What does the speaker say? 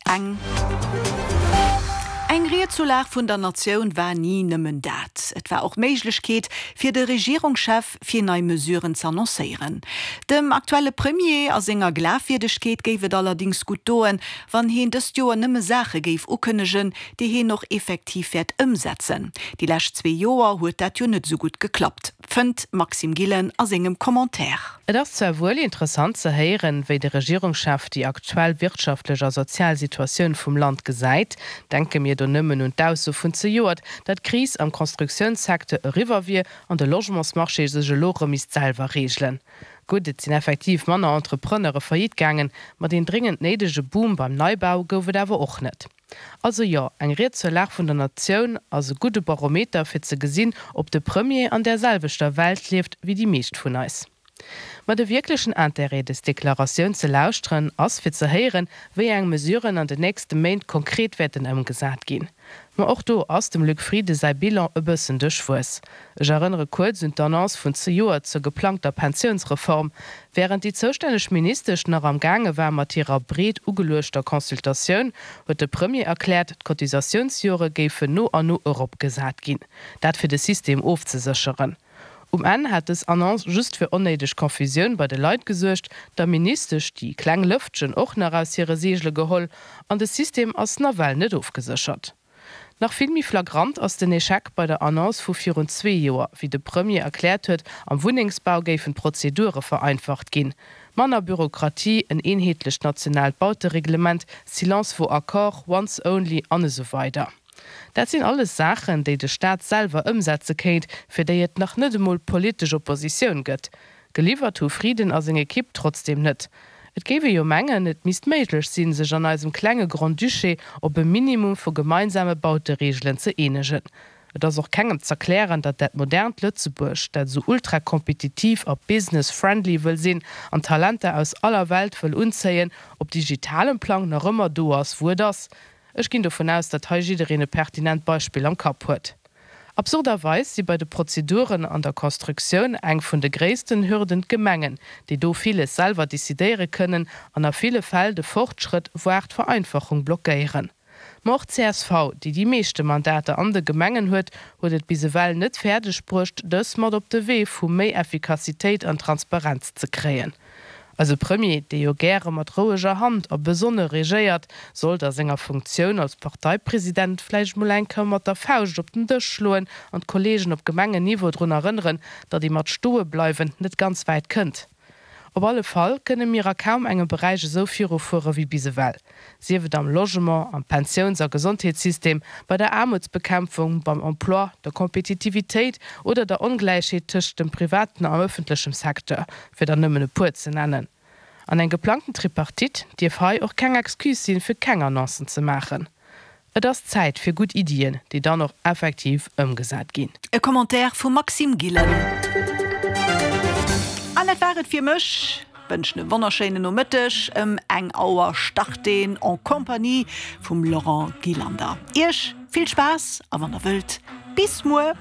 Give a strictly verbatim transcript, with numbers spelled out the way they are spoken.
Eng. Eng Ried zur Lag vun der Natioun war ni nëmmen dat. Et war och d'Méiglechkeet fir de Regierungschef fir nei Mesuren z'annoncéieren. Dem aktuelle Premier a senger Glafwierdegkeet géif et allerdéngs gutt doen, wann hien dëst Joer nëmme Saache géif ukënnegen, déi hien och effektiv wäert ëmsetzen. Déi lescht zwee Joer huet dat jo net sou gutt geklappt, fënnt d'Maxime Gillen a sengem Commentaire. Et ass zwar wuel interessant ze héieren, wéi de Regierungschef déi aktuell wirtschaftlech a sozial Situatioun vum Land gesäit, denke mir do nëmmen un d'Ausso vun zejoert, datt d'Kris am Constructiounssecteur eriwwer wier an de Logementsmarché sech elo rëm misst selwer reegelen. Gutt, et sinn effektiv manner Entrepreneure faillite gaangen, ma deen dréngend néidege Boom beim Neibau gouf et awer och net. Also jo, eng Ried zur Lag vun der Natioun ass e gudde Barometer fir ze gesinn, ob de Premier an där selwechter Welt lieft wéi déi meescht vun eis. Ma de wierklechen Interêt, dës Deklaratioun ze lauschteren, ass fir ze héieren, wéi eng Mesuren an den nächste Méint konkret wäerten ëmgesat ginn. Ma och do ass dem Luc Frieden säi Bilan e bëssen duerchwuess. Ech erënnere kuerz un d'Annonce vun zejoert zur geplangter Pensiounsreform. Wärend déi zoustänneg Ministesch nach am Gaange war mat hirer breet ugeluechter Consultatioun, huet de Premier erkläert, d'Cotisatiounsjore géifen no an no eropgesat ginn. Dat fir de System ofzesécheren. Um Enn hat dës Annonce just fir onnéideg Confusioun bei de Leit gesuergt, der Ministesch déi kleng Lëftchen och nach aus hire Seegele geholl an de System ass nawell net ofgeséchert. Nach vill méi flagrant ass den Echec bei der Annonce vu virun zwee Joer, wéi de Premier erkläert huet, am Wunnengsbau géifen d'Prozedure vereinfacht ginn. Manner Bürokratie, en eenheetlecht nationaalt Bautereglement, Silence vaut accord, once only an esou weider. Dat sinn alles Saachen, déi de Staat selwer ëmsetze kéint, fir déi et nach net emol politesch Oppositioun gëtt. Geliwwert hu Frieden a seng Ekipp trotzdeem net. Et géif ee jo mengen, et misst méiglech sinn, sech an eisem klenge Grand-Duché op e Minimum vu gemeinsame Bautereegelen ze eenegen. Et ass och kengem z'erklären, datt dat modernt Lëtzebuerg, dat esou ultra-kompetitiv a business-friendly wëll sinn an Talenter aus aller Welt wëll unzéien, op digitalem Plang nach ëmmer do ass, wou et ass. Ech ginn dovun aus, datt hei jiddereen e pertinent Beispill am Kapp huet. Absurderweis si bei de Prozeduren an der Constructioun eng vun de gréissten Hürden d'Gemengen, déi do villes selwer decidéiere kënnen an a ville Fäll de Fortschrëtt voire d'Vereinfachung blockéieren. Ma och csv, déi déi meeschte Mandater an de Gemengen huet, huet et bis ewell net fäerdeg bruecht, dës mat op de Wee vu méi Effikassitéit an Transparenz ze kréien. Eise Premier, dee jo gäre mat roueger Hand a besonne regéiert, sollt a senger Funktioun als Parteipresident vläicht mol eng Kéier mat der Fauscht op den Dësch schloen an d'Kolleegen op Gemengenniveau drun erënneren, datt ee mat stoe bleiwen net ganz wäit kënnt. Op alle Fall kënne mir a kaum engem Beräich esou virufuere wéi bis ewell, sief et am Logement, am Pensiouns a Gesondheetssystem, bei der Aarmutsbekämpfung, beim Emploi, der Kompetitivitéit oder der Ongläichheet tëscht dem privaten an ëffentlechem Secteur, fir der nëmmen e puer ze nennen. An eng geplangten Tripartite dierf hei och keng Excuse sinn, fir keng Annoncen ze maachen. Et ass Zäit fir gutt Iddien, déi dann och effektiv ëmgesat ginn. E Commentaire vum Maxime Gillen. An dat war et fir mech. Wënschen e wonnerschéinen Nomëtteg. Ëm eng Auer start een En Compagnie vum Laurent Gillander. Iech vill Spaass a wann der wëllt, bis muer!